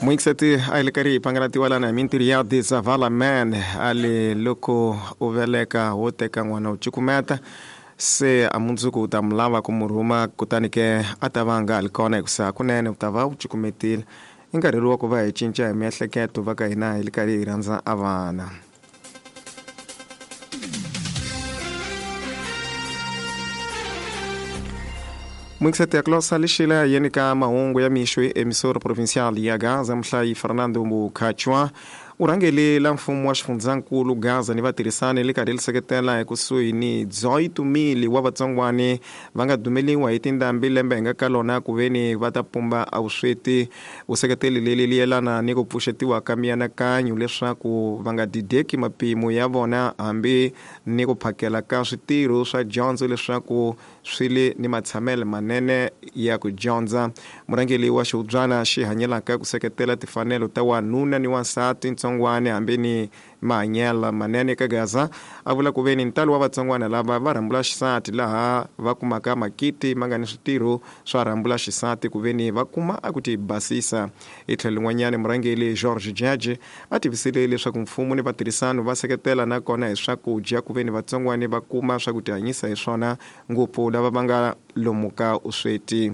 Muingiseti a yi le karhi yi pangalatiwa lana hi mintirho ya Dizavala Man a le loko u veleka wo teka n'wana u cukumeta se a mundzuku u ta mu lava ku mu rhuma kutani ke a ta va a nga ha li kona hikusa hakunene u ta va u cukumetile i nkarhi lowu wa ku va hi cinca hi miehleketo va ka hina hi li karhi hi rhandza a vana. Muingiseti ya Klosa lexila yeni ka mahungu ya mixo hi emisoro provincial ya Gaza muhlayi Fernando Mukhachwa u rhangele la mfumo wa xifundzankulu Gaza ni vatirhisani le karhi li seketela ekusuhi ni Dzoyi Tumili wa vatsongwani va nga dumeliwa hi tindhambi lembe hi nga ka lona ku veni va ta pumba a vusweti. Vuseketeli leli li yelana ni ku pfuxetiwa ka mianakanyo leswaku va nga dideki mapimo ya vona hambi ni ku phakela ka switirho swa dyondzo leswaku swi le ni matshamele manene ya ku dyondza. Murhangeri wa xihubyana xi hanyelaka ku seketela tifanelo ta wanuna ni wansati ntsongwana hambi ni mahanyelo manene ka Gaza a vula ku veni ntalo wa vatsongwana lava va rhambula xisati laha va kumaka makiti ma nga ni switirho swa rhambula xisati ku veni va kuma a ku ti basisa. Hi tlhelo lin'wanyana murhangeri George Judge a tivisile leswaku mfumo ni vatirhisano va seketela na kona hi swakudya ku veni vatsongwana va kuma swa ku tihanyisa hi swona ngopfu lava va nga lomu ka usweti.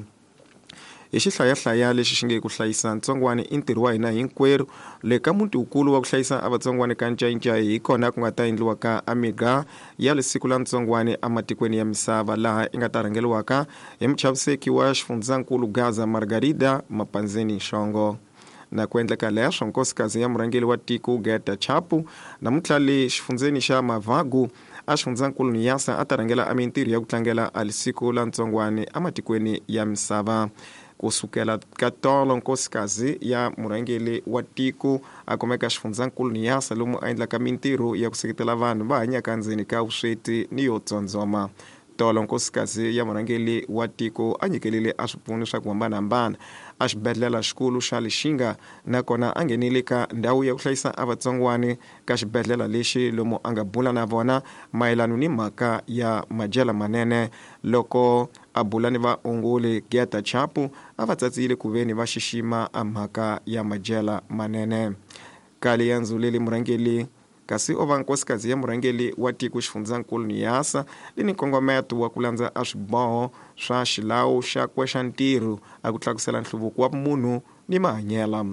Hi xihlayahlaya lexi xi nge ku hlayisa ntsongwana i ntirho wa hina hinkwerhu le ka muti wukulu wa ku hlayisa a vatsongwana ka Ncayincayi hi kona ku nga ta endliwa ka amiga ya lisiku la ntsongwana ematikweni ya misava laha i nga ta rhangeriwaka hi muchaviseki wa xifundzankulu Gaza Margarida Mapanzeni Nxongo. Na ku endleka leswo nkosikazi ya murhangeri wa tiko Gerda Chapu namuntlha le xifundzeni xa Mavagu a xifundzankulu Niassa a ta rhangela a mintirho ya ku tlangela a lisiku la ntsongwani ematikweni ya misava. Ku sukela ka tolo nkosikazi ya murhangeri wa tiko a kumeka xifundzankulu Niassa lomu a endlaka mintirho ya ku seketela vanhu va hanyaka ndzeni ka vusweti ni yo tsondzoma. Tolo nkosikazi ya murhangeri wa tiko a nyikelile a swipfuno swa ku hambanahambana a xibedlhela xikulu xa Lixinga nakona a nghenile ka ndhawu ya ku hlayisa a vatsongwani ka xibedlhela lexi lomu a nga bula na vona mayelano ni mhaka ya madyela manene. Loko a bula ni vaongoli Gerda Chapu a va tsatsile ku veni va xixima a mhaka ya madyela manene. Ka liendzo leli murhangeri kasi o va nkosikazi ya murhangeri wa tiko xifundzankulu Niassa li ni nkongometo wa ku landza a swiboho swa xilawu xakwe xa ntirho a ku tlakusela nhluvuko wa munhu ni mahanyela.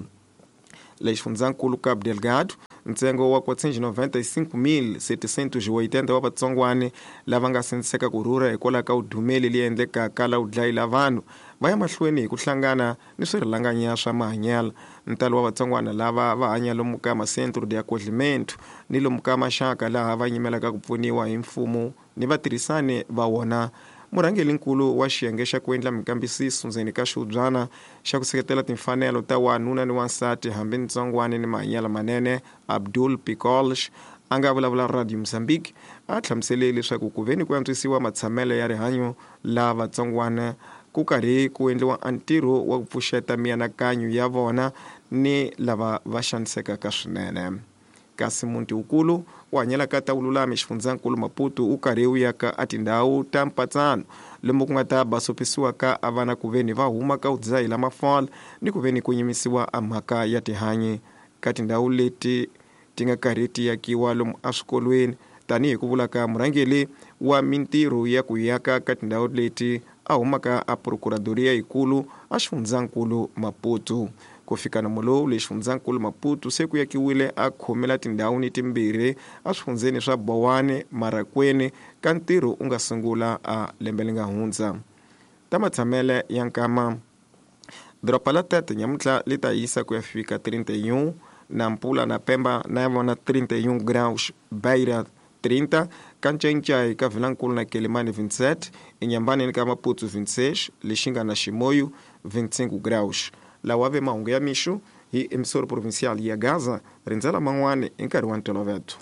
Le xifundzankulu Cabo Delgado ntsengo wa 495,780 wa vatsongwani lava nga sindziseka ku rhurha hikwalaho ka vudumeli leyi endlekaka la vudlayi la vanhu va ya mahlweni hi ku hlangana ni swirhalanganya swa mahanyelo. Ntalo wa vatsongwana lava va hanya lomu ka macentro de acolhimento ni lomu ka maxaka laha va nyimelaka ku pfuniwa hi mfumo ni vatirhisani va wona. Murhangeri-nkulu wa xiyenge xa ku endla minkambisiso ndzeni ka xihubyana xa ku seketela timfanelo ta wanuna ni wansati hambi ntsongwana ni mahanyelo manene Abdul Picolsh a nga vulavula Radio Mozambique a hlamusele leswaku ku ve ni ku antswisiwa matshamelo ya rihanyo la vatsongwana ku karhi ku endliwa ntirho wa ku pfuxeta mianakanyo ya vona ni lava va xanisekaka swinene. Kasi muti wukulu wu hanyelaka ta vululami xifundzankulu Maputo wu karhi wu yaka a tindhawu ta mpatsano lomu ku nga ta basopisiwa ka a vana ku veni va huma ka vudzahi la mafola ni ku veni ku nyimisiwa a mhaka ya tihanyi ka tindhawu leti ti nga karhi ti yakiwa lomu eswikolweni tanihi ku vula ka murhangeri wa mintirho ya ku yaka ka tindhawu leti a humaka a Procuradoria yikulu a xifundzankulu Maputo. Ku fika nomo lowu le xifundzankulu Maputo se ku yakiwile a khomela tindhawu ni timbirhi eswifundzeni swa Bowane, Marracuene ka ntirho u nga sungula a lembe li nga hundza. Ta matshamele ya nkama. Doroba la Tete nyamuntlha li ta hisa ku ya fika 31, Nampula na Pemba na vona 31 graus, Beira 30, ka Ncayincai ka Vilankulu na Quelimane 27, Inhambane ni ka Maputo 26, Lixinga na Chimoio 25 graus. Lawa ve mahungu ya mixo hi emissora provincial ya Gaza, rindzela man'wana hi nkarhi wa ntoloveto.